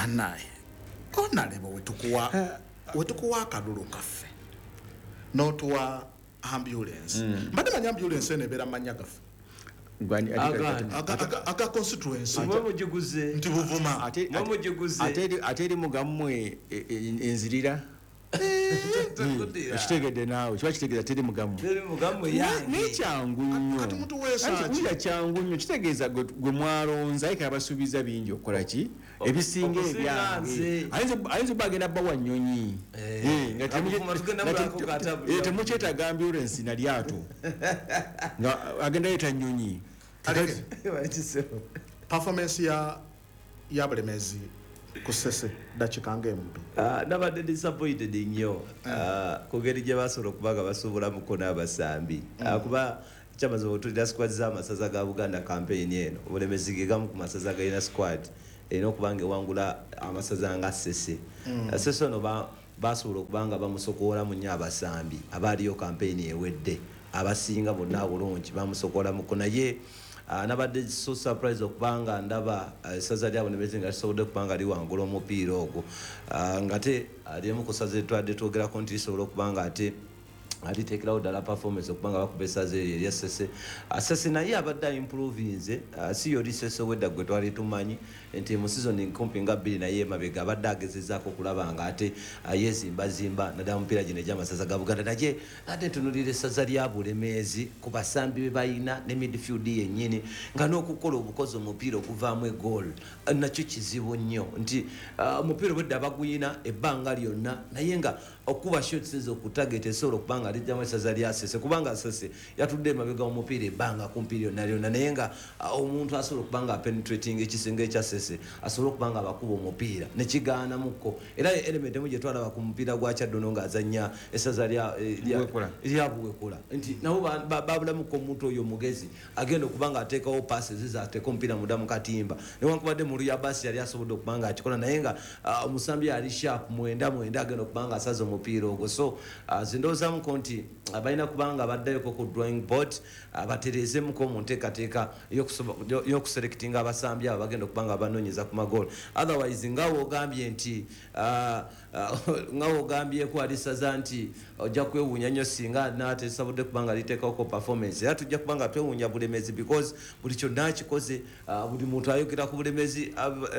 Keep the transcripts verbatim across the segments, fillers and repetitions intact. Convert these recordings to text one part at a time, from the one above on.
Banaye onalebo wetukuwa wetukuwa akalulu kaffe n'otuwa ambulance. Mbadde manyi ambulance eno ebeera manya gaffe aga constituency nti Buvuma ate eri mugammwe enzirira ekitegedde naawe kiba kitegeeza teri mugammwe naye kyangu nnyo anti kyangu nnyo kitegeeza gwe mwalonza aye kabasuubiza bingi okukola ki ebisinga ebyange ayinza obba agenda bbawa nnyonyi nga temukyetaaga ambulance na lyato nga agenda leeta nnyonyi. Performance ya ya Bulemezi kusese dakika ng'embi. Nabadde disappointed nnyo ku ngeri gye basobola okuba nga basuubulamuko n'abasambi kuba kyamaze otulira squad z'amasaza ga Buganda campaign eno. Obulemezi ge gamu ku masaza galina squad erina okuba nga ewangula amasaza nga Ssese. Ssese ono basobola okuba nga bamusokoolamu nnyo abasambi abaaliyo campaign ewedde abasinga bonna bulungi bamusokoolamuko naye nabadde so surprise okubanga ndaba essaza lya Bulemezi nga lisobodde okubanga liwangula omupiira ogwo ngate limu ku ssaza etwadde twogerako nti lisobola okubanga ate aliteekerawo ddala performance okubanga bakuba essaza eryo erya Ssese. Ssese naye abadde improvinze si yo Ssese wedda gwe twali tumanyi nti mu season kumpi nga bbiri naye emabega abadde agezezaako okulaba nga ate yezimbazimba naddala mupiira gino egy'amasaza ga Buganda. Naye ate ntunuulira essaza lya Bulemeezi ku basambi be balina ne midfield yennyini nga n'okukola obukozi omupiira okuvaamu egoal nakyo kizibu nnyo nti omupiira obwedda baguyina ebbanga lyonna naye nga okuba shots ezo okutarget esobola okuba nga lijjamu essaza lya Ssese kubanga Ssese yatudde emabega omupiira ebbanga kumpi lyonna lyonna naye nga omuntu asobola okuba nga penetrating ekisenge ekya Ssese asobola okuba nga abakuba omupiira nekigaanamuko. Era element emu gye twalaba ku mupiira gwa Kyaddono ng'azannya essaza lya Buwekula nti nabo babulamuko omuntu oyo omugezi agenda okuba nga ateekawo passes ateeka omupiira munda mu katimba newankubadde mu luya basi yali asobodde okuba nga akikola naye nga omusambi ali sharp mwenda mwenda agenda okuba nga asaza omupiira ogwo. So zindowoozamuko nti balina kubanga baddayoko ku drawing board batereezemuko mu nteekateeka y'okuselectinga abasambi abo bagenda okuba nga banoonyeza ku magoolo. Otherwise nga wogambye nti nga wogambyeko alisaza nti ojja kwewuunya nnyo singa n'atesobodde kuba nga liteekawoko performance era tujja kuba nga twewuunya Bulemezi because buli kyonna akikoze buli muntu ayogera ku Bulemezi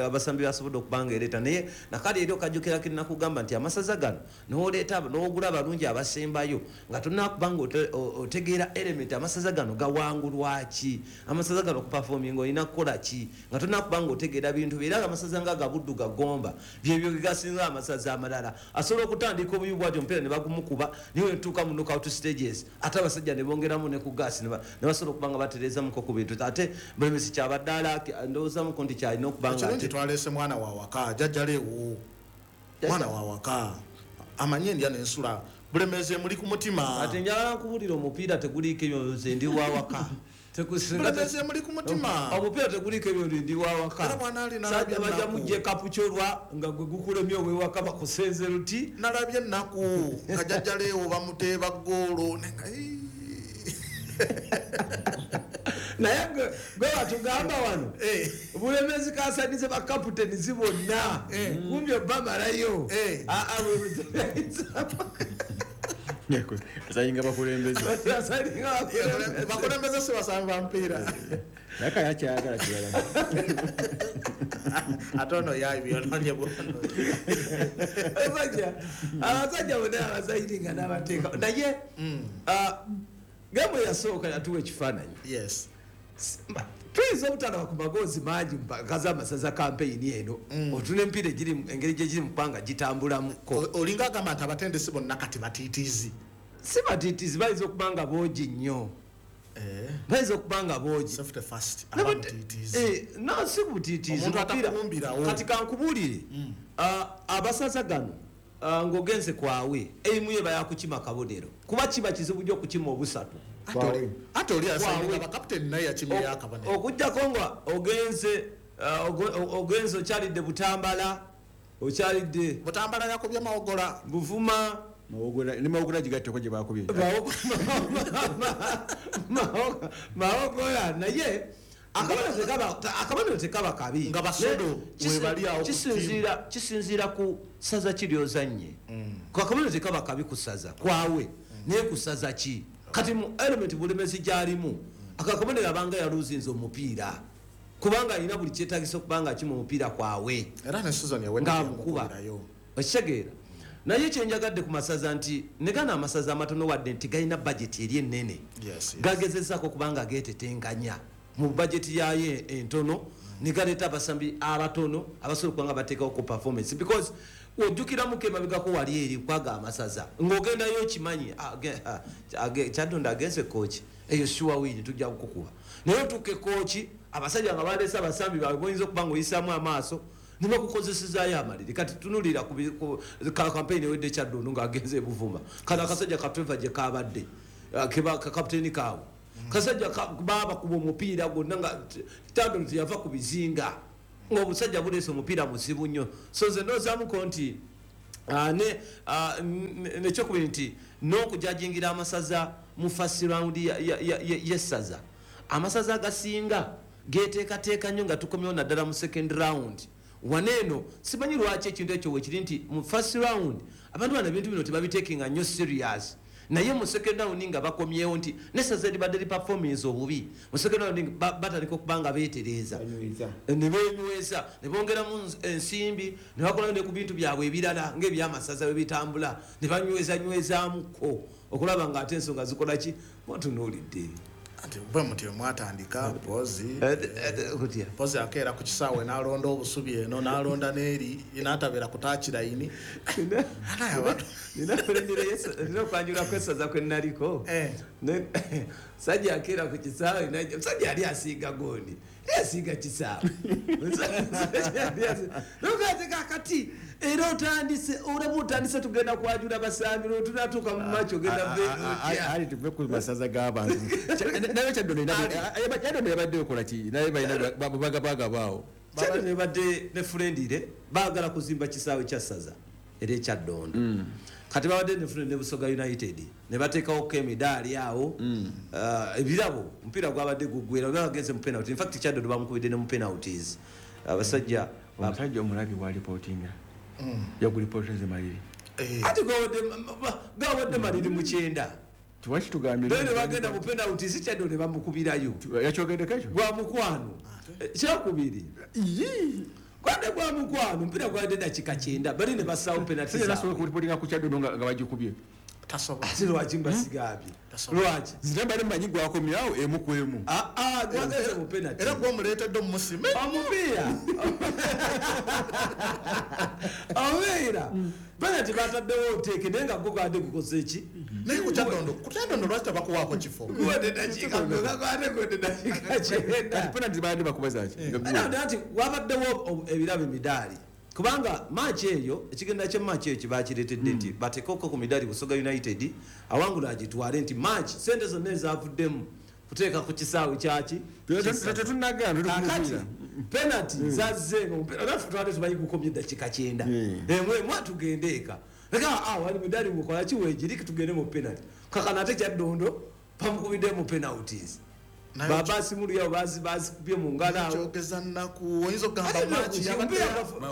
abasambi basobodde okuba nga ereeta naye nakale eri okajjukira kinakugamba nti amasaza gano n'oleeta n'ogula abalungi abasembayo nga tonakuba nga otegeera element amasaza gano gawangulwa ki amasaza gano okuperforminga olina kukola ki nga tonakuba nga otegeera bintu era amasaza nga Gabuddu Gagomba byebyo gasinga amasaza amalala asobola okutandika obubi bwatyo omupiira ne bagumukuba niwe ntuuka mu knockout stages ate abasajja ne bongeramu ne ku gas ne basobola okuba nga batereezamuko ku bintu ate Bulemezi kyabadde ala ndowoozamuko nti kyalina okuba nga ekirungi twaleese mwana wa waka jjajjaleewo mwana wa waka amanye endya n'ensula Bulemezi emuli ku mutima. Ate njagala nkubuulira omupiira teguliiko ebyo nze ndi wa waka Bulemezi emuli ku mutima omupiira teguliiko ebyo ndi wa waka sajja bajja mujje kapukyolwa nga gwe gukulemye ow'ewaka bakusenze luti nalabye ennaku nga jjajjaleewo bamuteeba ggoolo naye gwe batugamba wano Bulemezi kasanize bakaputeni bonna kumbi obamalayo asayinga bakulembeze bakulembeze si basambi ba mpiira naye yakyayagala kirala ate ono yabyononye bwono abasajja bonna abasayiringa n'abateeka naye gemu yasooka yatuwa ekifaananyi tuyinza obutalaba ku magoozi mangi mpaka z'amasaza campaign eno otuna emipiira engeri gye giri mu kubanga gitambulamuko. Olinga agamba nti abatendesi bonna kati batiitiizi si batiitiizi bayinza okuba nga boogi nnyo bayinza okuba nga boogi no si butiitiizi kati kankubuulire abasaza gano ng'ogenze kwawe erimu ye bayakukima kabonero kuba kiba kizibu nnyo okukima obusatu ate oli asayininga bakaputeni naye yakimira akabonero okuggyako nga ogenze ogenze okyalidde Butambala okyalidde Butambala yakubye Mawogola Buvuma ne Mawogola gigatteko gye bakubye Mawogola naye Akabonero tekaba kabi. Nga basodo webali awo kisinziira kisinziira ku saza ki ly'ozannye. Akabonero tekaba kabi ku saza kwawe naye ku saza ki kati mu element Bulemezi gy'alimu akakabonero abanga yaluzinze omupiira kubanga alina buli kyetaagisa okubanga ki mu mupiira kwawe era ne season yawedde ng'amukuba okitegeera. Naye kyenjagadde ku masaza nti ne gano amasaza amatono wadde nti galina budget eri ennene gagezezaako kubanga geetetenkanya mu budget yayo entono ne galeeta abasambi abatono abasobola okuba nga bateekawo ku performance because ojjukiramuko emabegako wali eri kwaga amasaza ng'ogendayo okimanyi Kyaddondo agenze Kooki eyo sure win tujja kukukuba naye otuuka Kooki abasajja nga baleese abasambi baabwe boyinza okuba ng'oyisaamu amaaso ne bakukozesezaayo amaliri. Kati tunuulira ku kampeyini ewedde Kyaddondo ng'agenze e Buvuma kano akasajja ka Trevor gye kabadde kapiteeni kaawe kasajja baabakuba omupiira gwonna nga Kyaddondo teyava ku bizinga ng'obusajja buleese omupiira muzibu nnyo. So nze ndowoozamuko nti nekyokubiri nti n'okujajingira amasaza mu first round y'essaza amasaza agasinga geeteekateeka nnyo nga tukomyewo naddala mu second round. Waneeno simanyi lwaki ekintu ekyo wekiri nti mu first round abantu bano ebintu bino tebabiteekinga nnyo serious naye mu second round nga bakomyewo nti n'essaza eribadde li performance obubi mu second round batandika okuba nga beetereeza ne beenyweza ne bongeramu ensimbi ne bakola ne ku bintu byabwe ebirala ng'ebyamasaza bwe bitambula ne banywezanywezaamuko okulaba ng'ate ensonga zikola ki mwatunuulidde. Ati bwe mutyo mwatandika pozi pozi akeera ku kisaawe n'alonda obusubi eno n'alonda n'eri n'atabeera ku taakirayini. Nina okwanjula kw'essaza kwe nnaliko musajja akeera ku kisaawe musajja yali asiiga gondi yali asiiga kisaawe kakati era otandise olaba otandise tugenda kwajula basambi tunatuuka mu maaki ogenda ali tuve ku masaza g'abantu naye Kyaddondo Kyaddondo yabadde okola ki naye balina bagabagabaawo Kyaddondo yabadde ne Friendly baagala kuzimba kisaawe kya ssaza era ekyaddondo kati babadde ne Friendly ne Busoga United ne bateekawoko emidaali awo ebirabo omupiira gwabadde guggwera bagenze mu penalty. In fact Kyaddondo bamukubidde ne mu penalties abasajja omusajja omulabi wa reportinga yagulipotinze maliri ate gawadde maliri mu kyenda tiwakitugambye ne bagenda mu penalties Kyaddondo ne bamukubirayo yakyogeddeko ekyo gwa mukwano kyakubiri gwadde gwa mukwano omupiira gwadde dakika kyenda bali ne bassaawo penalties. Nasobola kuripotinga ku Kyaddondo nga bagikubye ate lwaki mbasigambye lwaki nze mbadde mmanyi gwakomyawo emu ku emu gwagenze mu penalty era gwomuleetedde omumusime omupiira omupiira penalty bataddewo oteeke naye nga gwo gwadde gukoze ki naye ku Kyaddondo ku Kyaddondo lwaki tebakuwaako kifo guwadde dakiika gwadde guwadde dakiika kyenda kati penalty babadde bakuba zaaki nti wabaddewo ebirabo emidaali kubanga match eyo ekigenda kya match eyo kibakireetedde nti bateekeko ku midaali Busoga United awangula agitwale nti match sente zonna ezavuddemu kuteeka ku kisaawe kyaki tetunnagamba penalty zazze naffe twali tumanyi gukomye eddakiika kyenda emu emu atugende eka leka wali midaali mukola ki weegiri tugende mu penalty kakano ate Kyaddondo bamukubidde mu penalties babasi mulu yao bazi bazi kubye mu ngalo awo kyogeza nnaku oyinza okugamba match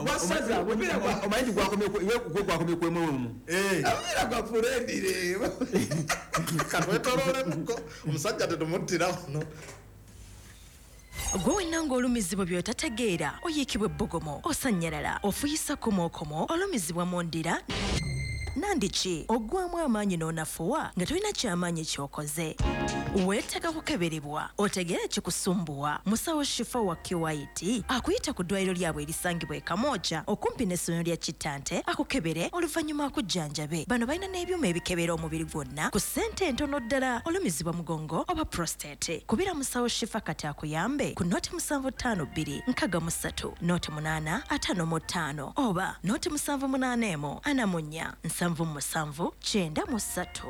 wasaza omupiira gwa omanyi gwakomye gwakomye ku emu emu omupiira gwa Friendly katwetololemuko omusajja tetumuttira wano. Gwe wenna ng'olumizibwa by'otategeera oyiikibwa ebbugumu osannyalala ofuyisa komookomo olumizibwa mu ndira nandiki oggwamu amaanyi n'onafuwa nga tolina kyamaanyi ky'okoze weetaaga kukeberebwa otegeere ekikusumbuwa. Musawo Shifa wa K Y T akuyita ku ddwaliro lyabwe erisangibwa e Kamwokya okumpi n'essomero lya Kitante akukebere oluvannyuma akujjanjabe. Bano balina n'ebyuma ebikebera omubiri gwonna ku ssente entono ddala. Olumizibwa mugongo oba prostate kubira musawo Shifa kati akuyambe ku noti musanvu ttaano bbiri nkaaga mu ssatu noti munaana ataano mu ttaano oba noti musanvu munaana emu ana mu nnya nsanvu mu musanvu kyenda mu ssatu.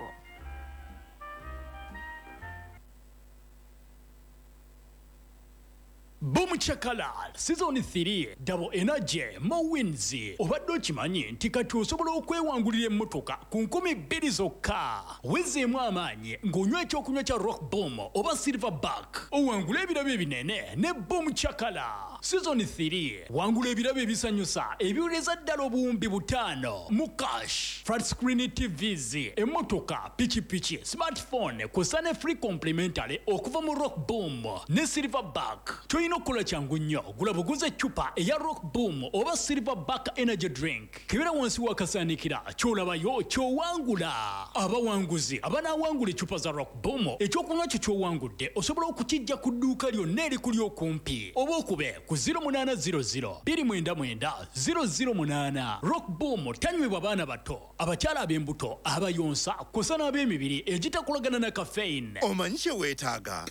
Boom Chakala Season three, Double Energy, More Wins. Obadde okimanyi nti kati osobola okwewangulira emmotoka ku nkumi bbiri zokka? Wezeemu amaanyi ng'onywa ekyokunywa kya Rock Boom oba Silverback, owangula ebirabo ebinene ne Boom Chakala Season three. Wangula ebirabo ebisanyusa ebiwereza ddala obuwumbi butaano mu cash, flat screen T Vs, emmotoka, pikipiki, smartphone, kw'ossa ne free complimentary okuva mu Rock Boom ne Silverback. Kyolina okukola kyangu nnyo: gula buguza eccupa eya Rock Boom oba Silverback energy drink, kebera wansi w'akasaanikira, ky'olabayo ky'owangula. Abawanguzi abanaawangula eccupa za Rock Boom, ekyokunywa kyo ky'owangudde osobola okukijja ku dduuka lyonna erikuli okumpi oba okube ku zero munaana zero zero two nine nine zero zero eight. Rock Boom tanywebwa baana bato, abakyala ab'embuto, abayonsa, kw'ossa n'ab'emibiri egitakolagana na caffeine. Omanyi kye weetaaga?